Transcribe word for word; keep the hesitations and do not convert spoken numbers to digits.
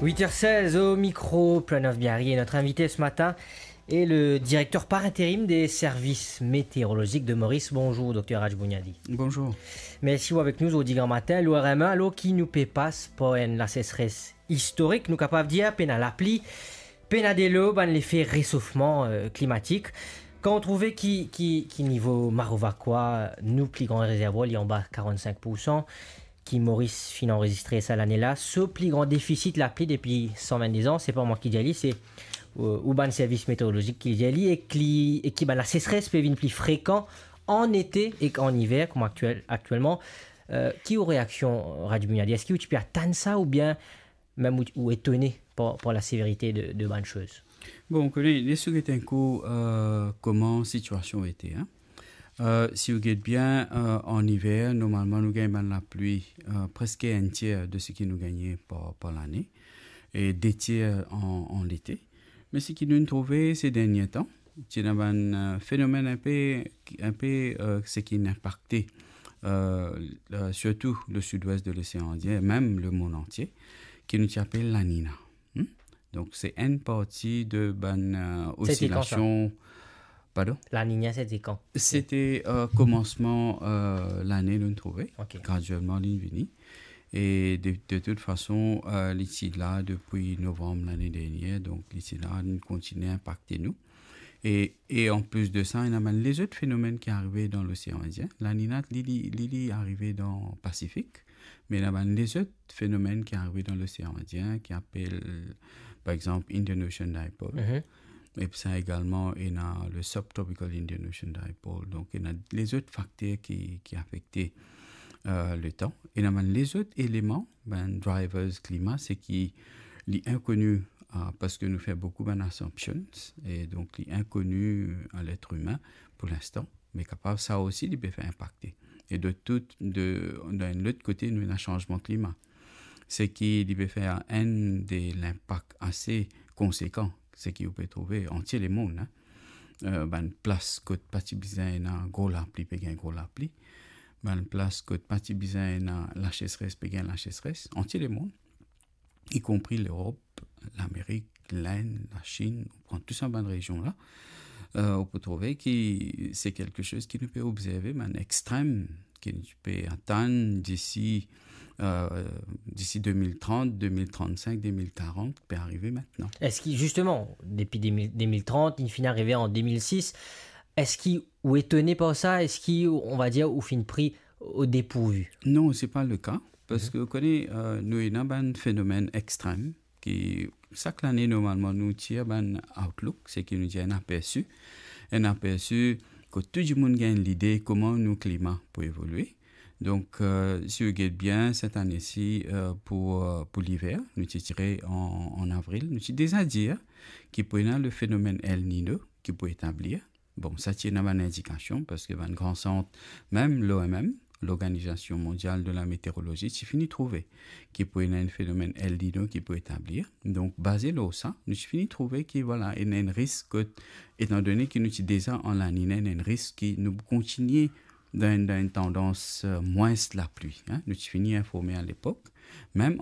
Huit heures seize au micro, Planoff Biarri, et notre invité ce matin est le directeur par intérim des services météorologiques de Maurice. Bonjour, docteur Rajbouniadi. Bonjour. Mersi ou avek nou zordi gramatin. Lor R M un, alor ki nou pe pas par enn laseseres istorik, nou kapav dir, pena lapli, pena delo, bann lefe resofman, euh, klimatik. Kan ou trouve ki, ki, ki nivo Marovaquois, nou pli gran rezervwar, li anba karant-sink poursan, ki Moris finn anrezistre sa lane la, so pli gran defisit lapli depi san vinn-de-de an, se pa mwa ki dir li, se, euh, ou bann servis meteorolozik ki dir li, e ki, e ki bann laseseres pe vinn pli frekan an ete ek an iver, kouma aktiel-, aktielman. Euh, ki ou reaksion, Rajbouniadi? Eski ou ti pe atann sa oubien mem ou, ou etone par, par laseverite de, de bann soz? Bon, ou kone, les ou get enn kou, euh, kouma sitiasion ete, hein. Euh, si ou get bien, euh, an iver, normalman, nou gagn bann lapli, euh, preske enn tier de seki nou gagne par, par lane, e de tier an, an lete. Me seki nou trouve se dernie tan, ti ena bann, euh, fenomenn inpe, inpe, euh, seki inn inpakte, euh, euh, sirtou le sud-ouest de l'Océan Indien, mem lemond antie, ki nou ti apel La Nina. Hmm? Donk, se enn parti de bann, euh, osilasion. Pardon? La Nina, sete kan? Sete, euh, komansman, euh, lane, nou trouve. Ok. Gradielman, li vini. E de, de tout fason, euh, li ti la depi novanm lane dernie, donk li ti la, li kontigne inpakte nou. E, e an plis de sa, ena bann lezot fenomenn ki arive dan Losean Indien. La Nina, li, li, li, li arive dan Pasifik, me ena bann lezot fenomenn ki arive dan Losean Indien, ki apel, par exanp, Indian Ocean Dipole. Mhm. Epi sa egalman, ena le Subtropical Indian Ocean Dipole. Donk, ena lezot fakter ki, ki afekte, euh, letan. Ena bann lezot eleman, bann drivers klima, se ki li inkoni, ah, parski nou fer boukou bann assumptions, e donk li inkoni a letr imin pou linstan, me kapav sa osi li pe fer inpakte. E de tout, de, dan enn lot kote, nou ena sanzman klima. Se ki li pe fer enn de linpak ase konsekan, seki ou pe trouve antie lemond, hein. Euh, bann plas kot pa ti bizin ena gro lapli, pe gagn gro lapli. Bann plas kot pa ti bizin ena laseseres, pe gagn laseseres, antie lemond, ikonpri Lerop, Lamerik, Lenn, Lasinn, ou pran tou sa bann rezion la, euh, ou pou trouve ki se kelke soz ki nou pe obzerve, bann extrem ki nou pe atann disi, euh, disi de mil trant, de mil trannsink, de mil karant, pe arive mintnan. Eski, zisteman, depi de mil, de mil trant, li finn arive an de mil sis, eski ou etone par sa? Eski, on va dir, ou finn pri o depourvi? Non, se pa le ka, parski, mhm, ou kone, euh, nou ena bann fenomenn extrem, ki sak lane, normalman, nou tir bann outlook, seki nou dir enn apersi. Enn apersi kot tou dimoun gagn lide kouma nou klima pou evolye. Donk, euh, si ou get bien, set ane si, euh, pou, euh, pou liver, nou ti tire an, an avril, nou ti deza dir ki pou ena le fenomenn El Niño ki pou etablir. Bon, sa ti ena bann indikasion, parski bann gran sant, mem l'O M M, l'Organisation Mondiale de la Météorologie, ti fini trouve ki pou ena enn fenomenn El Niño ki pou etablir. Donk, baze lor sa, nou ti fini trouve ki, vwala, ena enn risk kot, etandone ki nou ti deza an La Nina, ena enn risk ki nou pou kontigne dan, dan enn tandans, euh, mwins lapli, hein. Nou ti fini informe alepok. Mem